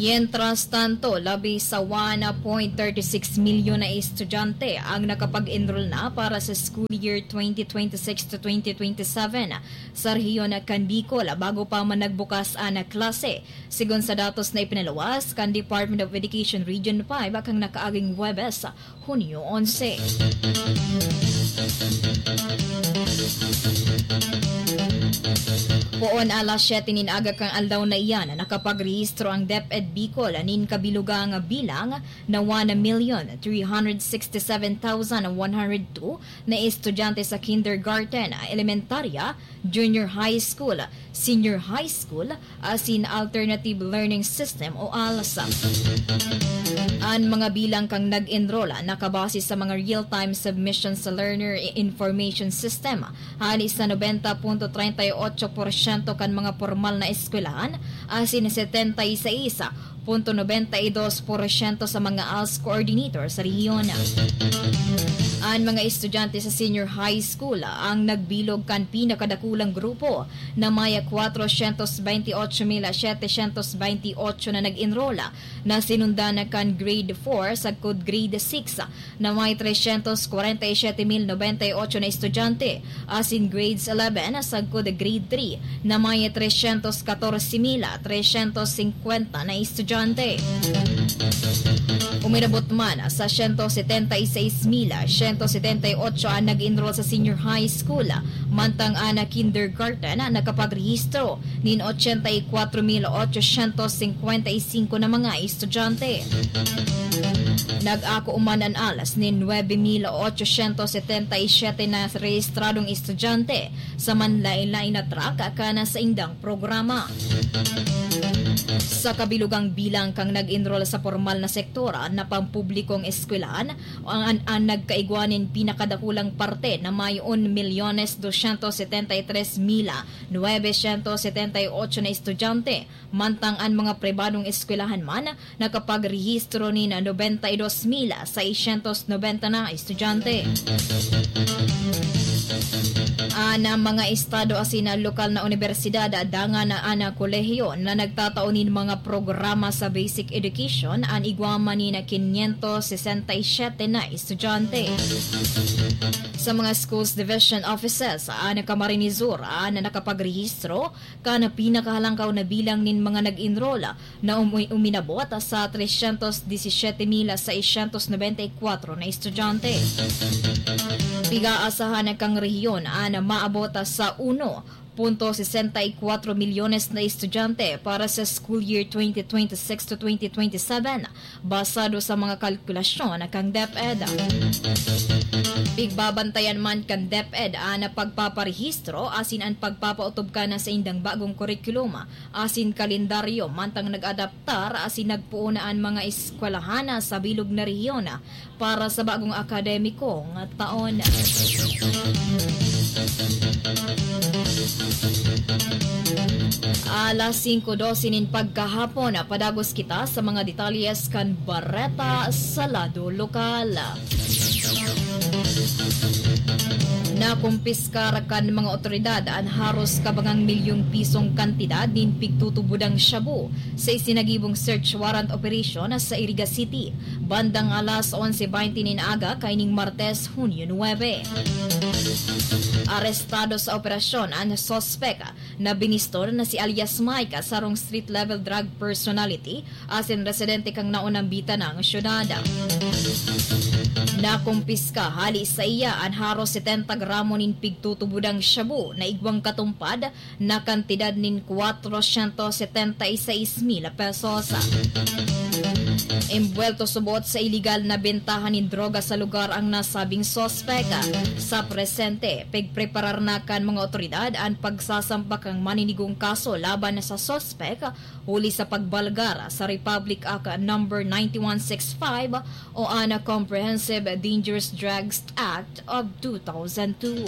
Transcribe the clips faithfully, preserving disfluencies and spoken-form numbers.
Mientras tanto, labi sa one point thirty six milyon na estudyante ang nakapag-enroll na para sa school year twenty twenty-six to twenty twenty-seven sa rehiyon kan Bicol bago pa man nagbukas an klase, sigon sa datos na ipinaluwas kan Department of Education Region five kan nakaaging Huwebes, Hunyo onse. Poon alas siyete nin aga kan aldaw na iyan, nakapagrehistro ang DepEd Bicol nin kabilugang bilang na one million three hundred sixty-seven thousand one hundred two na estudyante sa kindergarten, elementarya, junior high school, senior high school, asin Alternative Learning System o ALS. An mga bilang kan nag-enroll nakabase sa mga real-time submission sa Learner Information System, hali sa nobenta punto treinta y ocho porsyento kan mga pormal na eskwelahan asin setenta y seis punto nobenta y dos porsyento sa mga ALS coordinator sa rehiyon. An mga estudyante sa senior high school ang nagbilog kan pinakadakulang grupo na may kwatrosyentos benti otso mil setesyentos benti otso na nag-enroll, na sinundan kan grade four sagkod grade six na may tresyentos kwarenta y siyete mil nobenta y otso na estudyante, asin grades eleven sagkod grade three na may tresyentos katorse mil tresyentos singkwenta na estudyante. Umirabot man sa syentos setenta y seis mil syentos setenta y otso an nag-enroll sa senior high school, mantang an kindergarten nakapagrehistro nin ochenta y kwatro mil ochosyentos singkwenta y singko na mga estudyante. Nag-ako man an ALS nin nuebe mil ochosyentos setenta y siyete na rehistradong estudyante sa manlaen-laen na track kan saindang programa. Sa kabilugang bilang kan nag-enroll sa pormal na sektor na pampublikong eskwelahan, an, an nagkaigwa nin pinakadakulang parte na may un milyones dosyentos setenta y tres mil nuebe syentos setenta y otso na estudyante, mantang an mga pribadong eskwelahan man nakapagrehistro nin nobenta y dos mil seisyentos nobenta na estudyante. An mga estado asin lokal na unibersidad, dangan an kolehiyo na nagtatao nin mga programa sa basic education, an igwa man nin quinientos sesenta y siete na estudyante. Sa mga schools division offices, an Camarines Sur an nakapagrehistro kan pinakahalangkaw na bilang nin mga nag-enroll na umu-, uminabot sa tresyentos disisiyete mil seisyentos nobenta y kwatro na estudyante. Pig-aasahan kan rehiyon an maabot sa uno punto sesenta y kwatro milyones na estudyante para sa school year twenty twenty-six to twenty twenty-seven, basado sa mga kalkulasyon kan DepEd. Pigbabantayan man kan DepEd an pagpaparehistro asin an pagpapautob kan saindang bagong kurikulum asin kalendaryo, mantang nag-adaptar asin nagpoon na an mga eskwelahan sa bilog na rehiyon para sa bagong akademikong taon. Alas singko dose nin pagkahapon, padagos kita sa mga detalyes kan bareta sa lado lokal. Nakumpiskar kan mga otoridad an haros kabangang milyong pisong kantidad nin pigtutubodang shabu sa isinagibong search warrant operation sa Iriga City, bandang alas onse baynte nin aga kaining Martes, Hunyo nuebe. Arestado sa operasyon an suspek na biniston na si alias Mike, sarong street-level drug personality asin residente kan naunang bitanang syudad. Nakumpiska hali saiya an haros setenta gramo nin pigtutubodang shabu na igwang katumpad na kantidad nin kwatrosyentos setenta y seis mil pesos. Embuwelto subot sa iligal na bentahan nin droga sa lugar ang nasabing suspek. Sa presente, pigpreparar na kan mga otoridad an pagsasampa kan maninigong kaso laban sa suspek huli sa pagbalgar sa Republic Act Number ninety-one sixty-five o an Comprehensive Dangerous Drugs Act of two thousand two.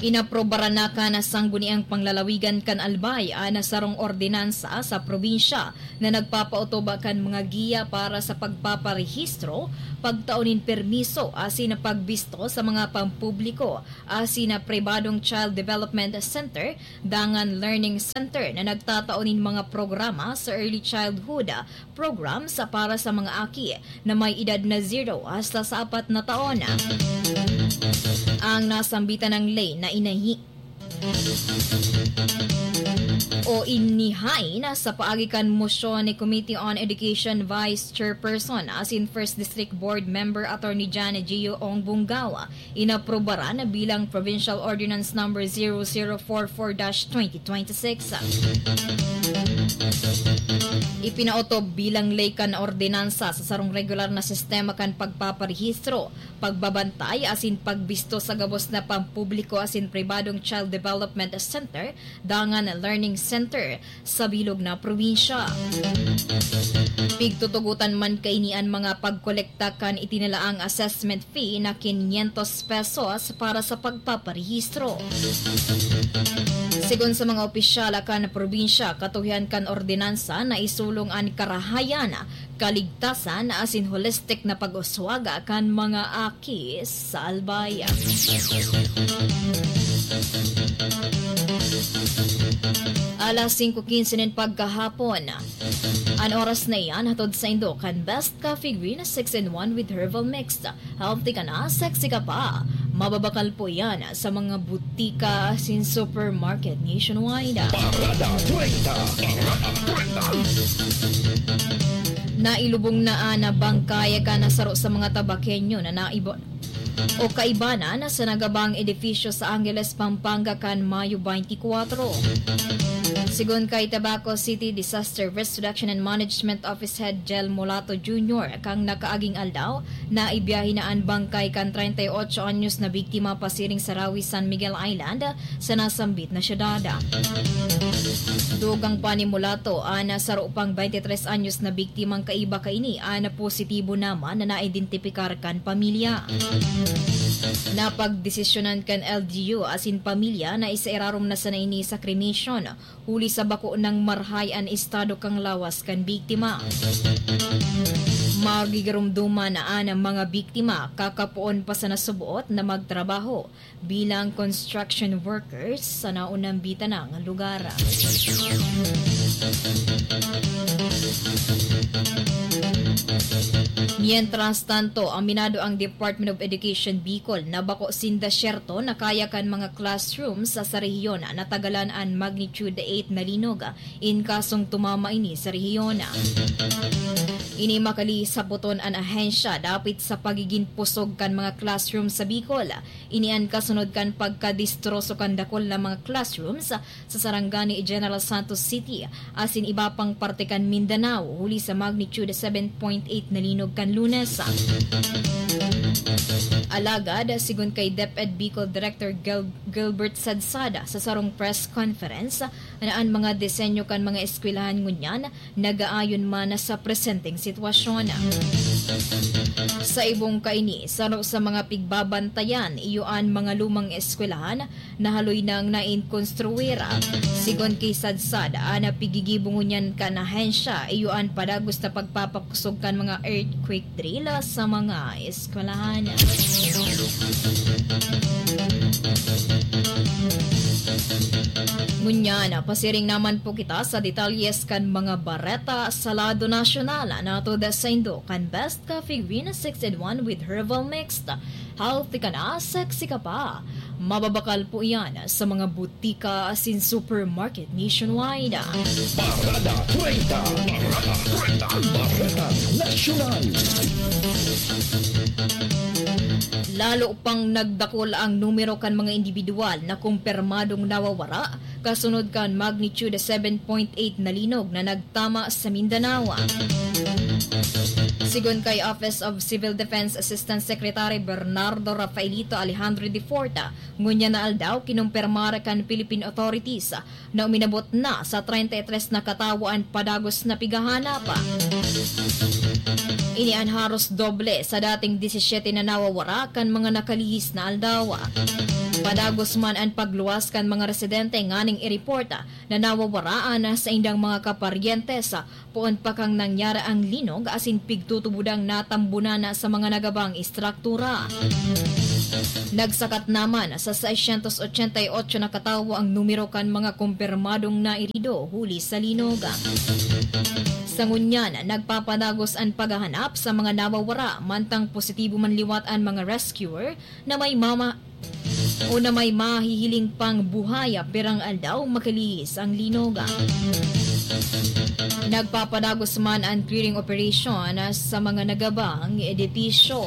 Inaprobaran na kan Sangguniang Panglalawigan kan Albay an sarong ordinansa sa probinsya na nagpapautob kan mga giya para sa pagpaparehistro, pagtao nin permiso asin pagbisto sa mga pampubliko asin pribadong Child Development Center dangan Learning Center na nagtatao nin mga programa sa early childhood programs para sa mga aki na may edad na zero hasta sa apat na taon. Ang nasambitan ng ley na inahi o inihain sa paagi kan mosyon ni Committee on Education Vice Chairperson asin First District Board Member Attorney Jan Gio Ong Bungao, inaprobaran bilang Provincial Ordinance Number zero zero four four dash twenty twenty-six. Ipinaotob bilang ley kan ordinansa sa sarong regular na sistema kan pagpaparehistro, pagbabantay asin pagbisto sa gabos na pampubliko asin pribadong Child Development Center dangan Learning Center sa bilog na probinsya. Pigtutugotan man kaini an mga pagkolekta kan itinalaang assessment fee na quinientos pesos para sa pagpaparehistro. Sigon sa mga opisyal kan probinsya, katuhian kan ordinansa na isulong an karahayan, kaligtasan asin holistic na pag-uswag kan mga aki sa Albay. Alas singko quince nin pagkahapon. An oras na iyan hatod saindo kan Best Coffee Green six in one with Herbal Mix. Healthy ka na, sexy ka pa. Mababakal po iyan sa mga butika asin supermarket nationwide. Parada treinta. Parada treinta. Nailubong na an bangkay kan saro sa mga Tabaqueño na naibo-, o kaibanan sa nagabang edifisyo sa Angeles, Pampanga kan Mayo twenty-four. Sigon kay Tabaco City Disaster Risk Reduction and Management Office Head Jel Mulato Junior, kan nakaaging aldaw, naibiyahe na an bangkay kan treinta y ocho anyos na biktima pasiring sa Rawi, San Miguel Island, sa nasambit na syudad. Dugang pa ni Mulato, an saro pang twenty-tres anyos na biktimang kaiba kaini an positibo naman na naidentipikar kan pamilya. Napagdesisyonan kan L G U asin pamilya na isairarom na sana ini sa cremation, huli sa bako nang marahay an estado kan lawas kan biktima. Magigiromdoman na an mga biktima, kakapoon pa sana suboot na magtrabaho bilang construction workers sa naunambitan na lugar. Mientras tanto, aminado ang Department of Education Bicol na bako sinda syerto na kaya kan mga classrooms sa, sa rehiyon natagalan an magnitude eight na linog in kasong tumama ini sa rehiyon. Ini makalisapoton an ahensya dapit sa pagigin pusog kan mga classroom sa Bicol. Ini an kasunod kan pagkadestroso kan dakul na mga classrooms sa Sarangani, General Santos City, asin iba pang parte kan Mindanao, huli sa magnitude seven point eight na linog kan Lunes. Alagad, sigon kay DepEd Bicol Director Gil-, Gilbert Sadsada sa sarong press conference, na an mga disenyo kan mga eskwelahan ngunyan nag-aayon man sa presenteng sitwasyon. Sa ibong kaini, saro sa mga pigbabantayan iyo an mga lumang eskwelahan na haloy nang nainkonstruir. Sigon ki Sadsad, an pigigibo ngunyan kan ahensya iyo an padagos na pagpapakusog kan mga earthquake drill sa mga eskwelahan. Ngunyan, pasiring naman po kita sa detalyes kan mga bareta sa lado nasyonal. Natod saindo kan Best Coffee Green six in one with Herbal Mix. Healthy ka na, sexy ka pa. Mababakal po iyan sa mga butika asin supermarket nationwide. Parada treinta. Parada treinta. Bareta Nasyonal. Lalo pang nagdakul ang numero kan mga indibidwal na kumpirmadong nawawara kasunod kan magnitude seven point eight na linog na nagtama sa Mindanao. Sigon kay Office of Civil Defense Assistant Secretary Bernardo Rafaelito Alejandro de Forta, ngunyan na aldaw kinumpirmar kan Philippine authorities na uminabot na sa treinta y tres na katawo an padagos na pighahanap. Ini an haros doble sa dating disisiyete na nawawara kan mga nakalihis na aldaw. Padagos man an pagluwas kan mga residente nganing i-report na nawawaraan sa indang mga kaparyentes poon pa kan nangyari ang linog asin pigtutubodang natambunan sa mga nagabang istruktura. Nagsakat naman sa seiscientos ochenta y ocho na katawo ang numero kan mga kumpirmadong nairido huli sa linog. Sa ngunyan, nagpapadagos an paghahanap sa mga nawawara, mantang positibo man liwat an mga rescuer na may mama o na may mahihiling pang buhay pirang aldaw makalihis ang linog. Nagpapadagos man an clearing operation sa mga nagabang edipisyo.